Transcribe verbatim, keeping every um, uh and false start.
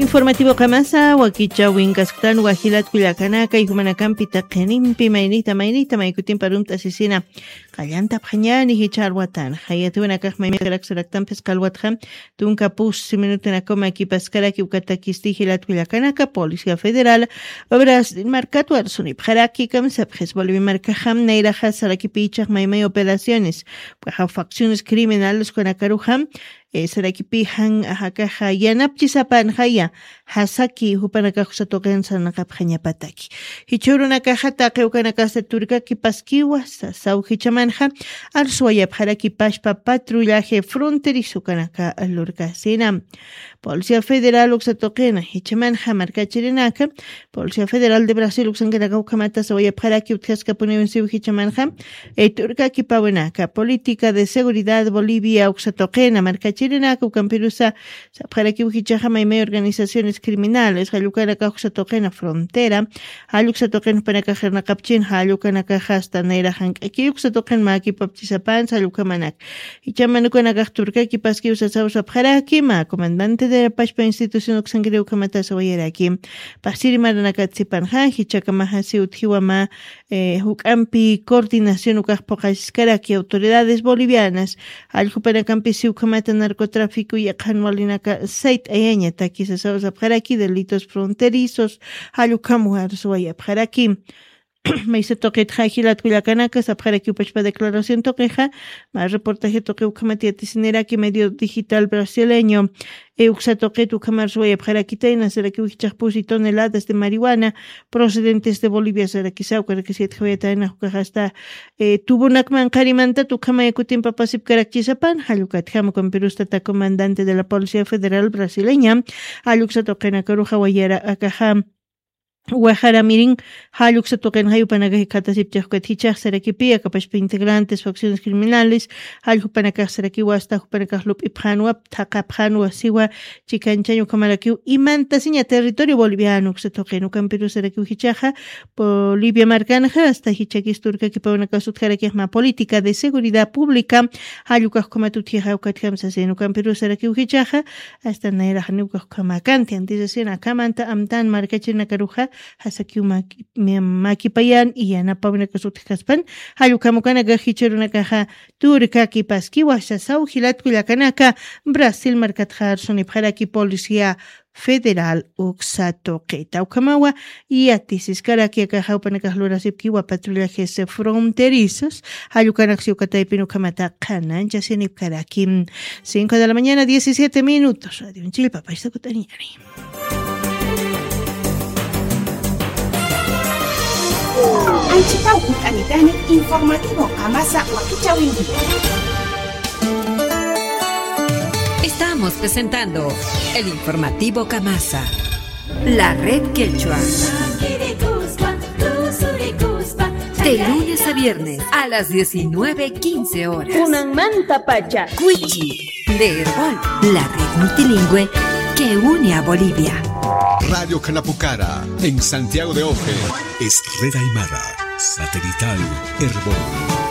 Informativo qamasa, wakichawin kasktan wajilat kullakanaka, y jumanakampi taqinimpi maynita, maynita, maykutimpa rumt'asisina. Qallantapxañani jichha alwatan. Jayatiwanakax maymaskarak saraktampis qalwatxa. Tunka pusi minutunakaw makipaskaraki ukatakisti jilat kullakanaka, Policía Federal, Brasil markatwa arsunipxaraki, kamsapxis Bolivia markaxam, nayraxa sarakipichax maymay operaciones. Paxa facciones criminales kunakaruxam, eh, sarakipi jan ajakaxa yanapchisapanxaya, jasaki jupanakax uksatuqin sarnaqapxañapataki. Jichhürunakaxa taqi ukanakasa turkaki paskiwa, sasaw jichhamanxa, arsuwayapxaraki pashpa patrullaje fronterizo ukanaka lurkasina. Policía Federal uksatuqina, jichhamanxa markachirinaka, Policía Federal de Brasil uksankanaka ukhamata sawayapxaraki utjaskapuniwin siw jichhamanxa, eh, turkakipawinaka, Política de Seguridad Bolivia uksatuqina, markachirinaka ukampirusa, sapxarakiw jichhaxa maymay organizaciones criminales, jallukanakax uksatuqina frontera, jalluksa tuqin jupanakax irnaqapchin, jallukanakaxa hasta nayra jank'aki uksatuqin makipapchisapan, jallukamanaka. Jichhaman ukanakax turkaki paskiw sasaw sapxaraki, mä comandante de la pashpa institución uksankiri ukhamata sawayaraki. Pajsiri maranakatsipanxa, jichhakamaxa siw utjiwa mä, eh, juk'ampi coordinación ukax phuqasiskaraki autoridades bolivianas, jallukanakampi siw ukhamata narcotráfico yaqhan walinaka sayt'ayañataki sasaw sapxaraki delitos fronterizos, jallukam warsuwayapxaraki. Maysa tuqitxa jilat kullakanaka sapxarakiw pachpa declaración tuqixa, mä reportaje tuqi ukhamat yatisiniraki medio digital brasileño, eh, uksa tuqit ukhamar suwayapxarakitayna sarakiw jichhax pusi toneladas de marihuana procedentes de Bolivia sarakisaw karakisitxawayatayna ukax hasta, eh, tubunakman qharimantat ukhamaya kutimpa pasipkarakchisapan, jallukatjam ukampirusta tata comandante de la Policía Federal Brasileña, jalluksa tuqinakaruxa wayara akaxa, Wajaramirin, jalluksa tuqin jayupanakax khatasipchax ukat jichhax sarakipi, akapashpa integrantes, facciones criminales, jalljupanakax sarakiwa, hasta jupanakax lup'ipxanwa, thaqapxanwa, siwa, chikanchañ ukhamarakiw, imantasiña territorio boliviano uksa tuqin, ukampiru sarakiw jichhaxa, Bolivia markanxa, hasta jichhakis turkakipawinakax utjarakix mä política de seguridad pública, jallukax ukhamat utjixa ukatjam sasin, ukampiru sarakiw jichhaxa, hasta nayrax janiw ukax ukhamakanti, antisasina akhamanta amtan markachirinakaruxa, jasakiw maki-, mi-, makipayan, y yanapawinakas utjkaspan, jallukam ukanakax jichhürunakaxa, turkaki paskiwa, sasaw jilat kullakanaka, Brasil markatxa arsunipxaraki policía federal uksa tuqita. Ukhamawa, yatisiskaraki akaxa jupanakax lurasipkiwa patrullajes fronterizos, jallukanaksa ukataypin ukhamata qhananchasinipkaraki. Cinco de la mañana, diecisiete minutos. Radio Chilpa, paisa kut'aniñani. Anchitaw kut'anitani informativo qamasa wakichawinki. Estamos presentando el informativo Kamasa. La red quechua. De lunes a viernes a las diecinueve quince horas. Kunanmantapacha. Cuichi, de Erbol, la red multilingüe que une a Bolivia. Radio Canapucara, en Santiago de Oje, es red aymara, satelital, Erbol.